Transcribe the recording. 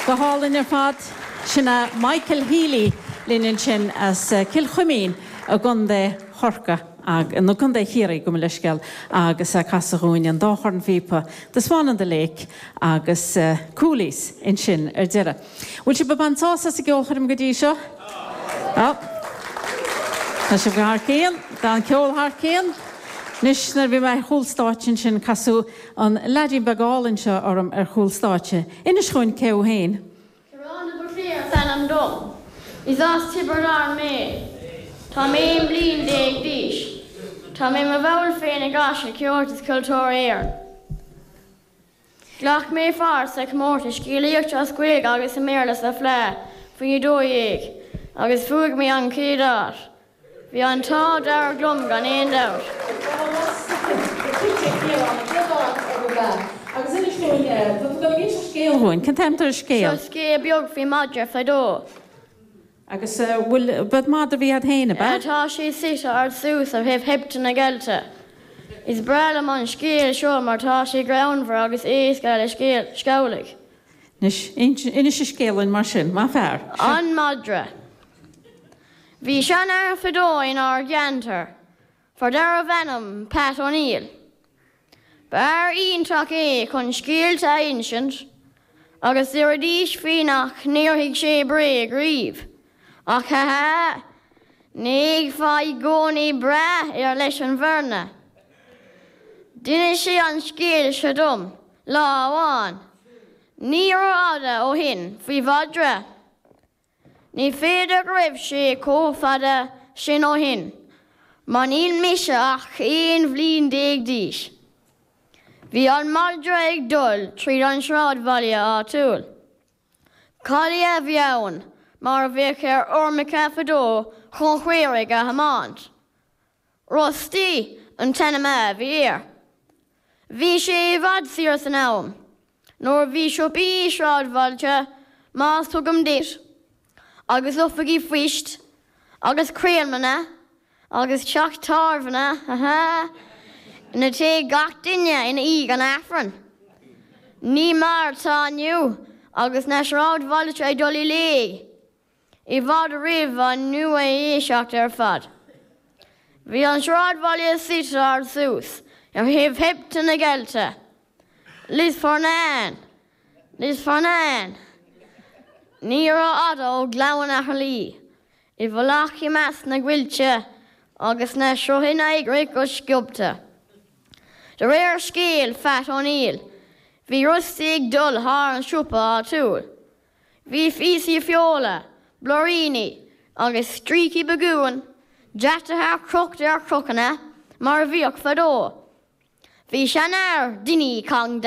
Go hálainn ar fad. Sin é Michael Healy linn ansin as Cill Chuimín i gContae Chorcaí, nó Contae Chiarraí, gabh mo leithscéal, agus é ag casadh dhúinn an dá chornphíopa, The Swan on the Lake agus Coolies ansin ar deireadh. Bhfuil sibh ag baint sásamh as an gceolchoirm go dtí seo? Tá. Tá sibh thar cionn. Tá an ceol thar cionn. Anois, nuair a bhí mé ar chúl stáitse ansin, casadh an leaidín beag álainn seo orm ar chúl stáitse. Inis dhúinn cé thú féin. Ciarán de Buitléar is ainm dom. Is as Tiobraid Árann mé. Tá mé 11 bliain d'aois. Tá mé i mo bhall féin i gCoiste Ceolta is Cultúrtha Éireann. Ghlac mé pháirt sa chomórtas scéalaíochta as Gaeilge agus i mBéarla sa Fleadh faoi 12 agus bhuaigh mé an chéad áit. Bhí an t-ádh dearg liom gan aon dabht. Seo scéal beag faoi mhadra fadó. Agus bhfuil, b'ead madra a bhí a'd féin, ab ea? Tá sé suite ard suas ar thaobh Sheipte na Geallta. Is breá liom an scéal seo mar tá sé greannmhar agus éasca le scealaigh. Anois, inis an scéal dúinn mar sin, maith fear. An Madra. Bhí seanfhear fadó inár gceantar, fear darbh ainm Pat O'Neill. Ba fhear iontach é chun scéalta a insint agus deiridís faoi nach ndéarfadh sé bréag riamh. Ach ha ha, ní bheifeá i gcónaí breá air leis an bhfírinne. D'inis sé an scéal seo dom lá amháin, ní rófhada ó shin, faoi mhadra. Ní féidir go raibh sé chomh fada sin ó shin, mar níl mise ach 11 bhliain d'aois. Bhí an madra ag dul tríd an sráidbhaile áitiúil. Collie a bhí ann, mar a bhíodh ar fheirmeacha fadó chun caoirigh a thiomáint. Rusty an t-ainm a bhí air. Bhí sé i bhfad siar san am, nuair a bhí siopaí i sráidbhailte, más tuigim duit, agus oifigí phoist, agus croíleanna, agus teach tábhairne, ha ha, ina dtéadh gach duine i ndiaidh an Aifrinn. Ní mar atá inniu agus na sráidbhailte ag dul i léig. i bhfad roimh an nua-aoiseacht ar fad. Bhí an sráidbhaile suite ard suas ar thaobh Sheipte na Geallta, Lios Fearnáin, Lios Fearnáin. Ní rófhada ó Ghleann Fhairlí, i bhfolach i measc na gcoillte agus na sruthanna ag rith go sciobtha. De réir scéal Phat O'Neill, bhí Rusty ag dul thar an siopa áitiúil. Bhí píosaí feola, blúiríní agus stríocaí bagúin deataithe crochta ar chrocanna mar a bhíodh fadó. Bhí seanfhear, Dinny Congdon.